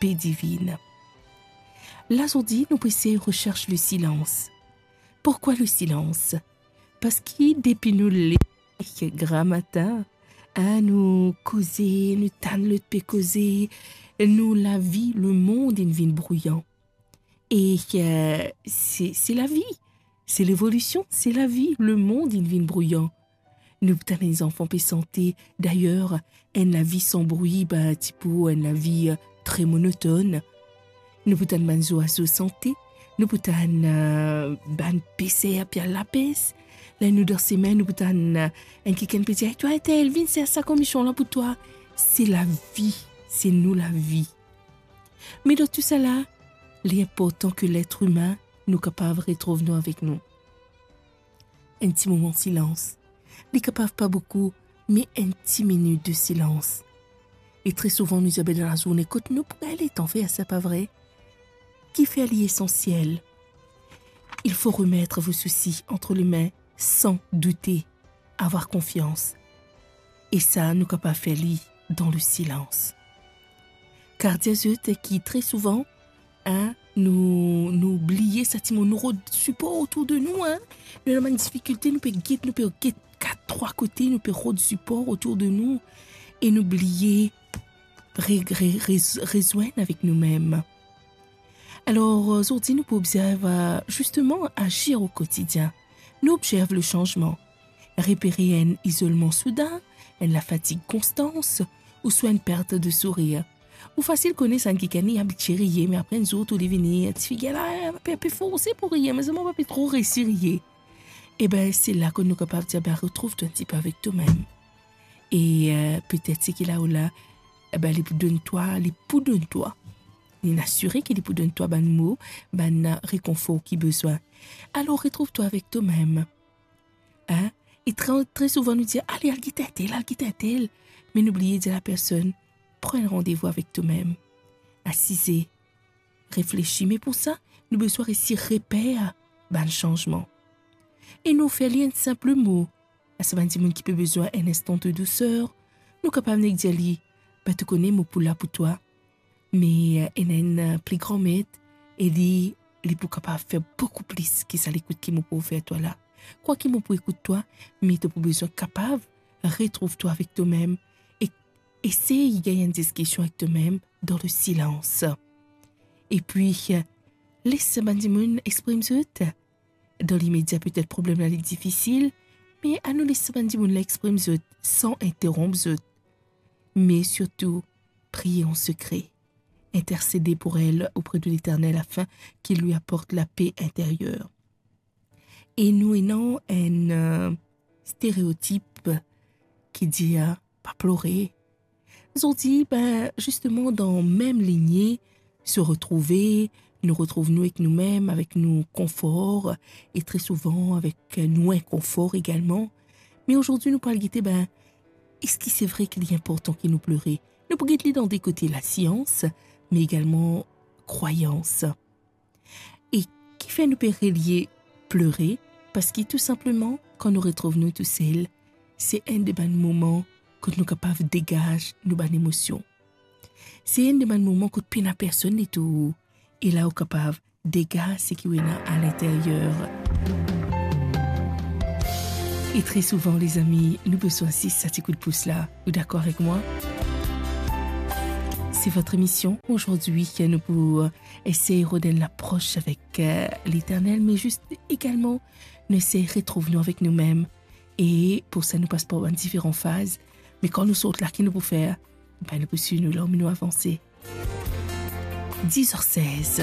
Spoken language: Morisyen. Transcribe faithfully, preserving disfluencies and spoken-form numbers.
pe divinn. La zordi, nou pou esey resers le silans. Pourkwa le silans? Parski depi nou leve gramatin, a, nou koze, nou tann lot pe koze, nou lavi, lemond inn vinn brouyan. E, eh, se, se lavi, se levolision, se lavi, lemond inn vinn brouyan. Nou pou tann enn zanfan pe sante, dayer, enn lavi san brwi, be, ti pou enn lavi, eh, tre monotonn. Nou pou tann bann zwazo sante, nou pou tann, eh, bann peser pe al lapes. Ler nou dan semin, nou pou tann, eh, enn kikenn pe dir, "Twa, entel, vinn sers sa kornision la pou twa." Se lavi, se nou lavi. Me dan tou sala, li inportan ki letr imin, nou kapav retrouv nou avek nou. Enn ti moman silans. Li kapav pa boukou, me enn ti minit de silans. E tre souvan, nou zabe dan lazourne kot nou pou gagn letan fer sa, pa vre? Kifer li esansiel? Il faut remettre vos soucis entre les mains sans douter, avoir confiance. E sa, nou kapav fer li dan le silans. Kar dir zot ki tre souvan, a, nou, nou bliye sa dimoun, nou rod sipor otour de nou, a. Nou dan bann difikilte, nou pe get, nou pe get kat, trwa kote, nou pe rod sipor otour de nou, e nou bliye re-, re-, re-, rezwenn avek noumem. Alor, zordi nou pou observ, zisteman, azir o kotidien. Nou observ le sanzman, repere enn izolman soudin, enn lafatig konstan, ouswa enn pert de sourir. Ou fasil kone sa enn kikenn li abitie riye, me apre enn zour tou li vini, ti figir la, pe, pe forse pou riye, me zame pa pe tro resi riye. Eben, se la ki nou kapav dir, be, retrouv twa enn tipe avek tomem. E, eh, petet seki la ou la, eben, li pou donn twa, li pou donn twa. Li asire ki li pou donn twa bann mo, bann, eh, rekonfor ki bizin. Alor, retrouv twa avek tomem. Hein? E tre, tre souvan nou dir, "Ale, al get entel, al get entel." Me nou bliye dir lapersonn, "Pran enn randevou avek tomem. Asize, reflesi." Me pou sa, nou bizin resi reper bann sanzman. E nou fer li enn sinp mo. A sa bann dimoun ki pe bizin enn instan de douser, nou kapav nek dir li, "Be, to kone mo pou la pou twa." Me, eh, ena enn, eh, pli gran met, e li, li pou kapav fer boukou plis ki sa lekout ki mo pou ofer twa la. Krwar ki mo pou ekout twa, me to pou bizin kapav retrouv twa avek tomem e esey gagn enn diskision avek tomem dan le silans. Epi, eh, les bann dimoun exprim zot. Dan limedia, petet problem la li difisil, me anou les bann dimoun la exprim zot san interonp zot. Me sirtou, priye an sekre. Intercédez pour elle auprès de l'Éternel afin qu'il lui apporte la paix intérieure. E nou ena enn, eh, stereotip ki dir, ah, pa plore. Zordi, be, zisteman, dan mem linie, se retrouve, nou retrouv nou ek noumem, avek nou konfor, e tre souvan avek nou inkonfor egalman. Me zordi, nou pou al gete, be, eski se vre ki li inportan ki nou plore? Nou pou get li dan de kote, lasians, me egalman krwayans. E kifer nou pe relie plore? Parski tou sinpleman, kan nou retrouv nou tousel, se enn de bann moman kot nou kapav degaz nou bann emosion. Se enn de bann moman kot pena personn letour, e la ou kapav degaz seki ou ena alinteryer. E tre souvan, lezami, nou bizin zis sa ti kout pous la. Ou dakor avek mwa? C'est votre émission aujourd'hui. Nou pou, euh, esey rod enn lapros avek, euh, Leternel, me zis egalman, nou esey retrouv nou avek noumem. E pou sa, nou pas par bann diferan faz. Me kan nou sort la, ki nou pou fer? Be, nou pou swiv nou larm, nou avanse. Dis er sez.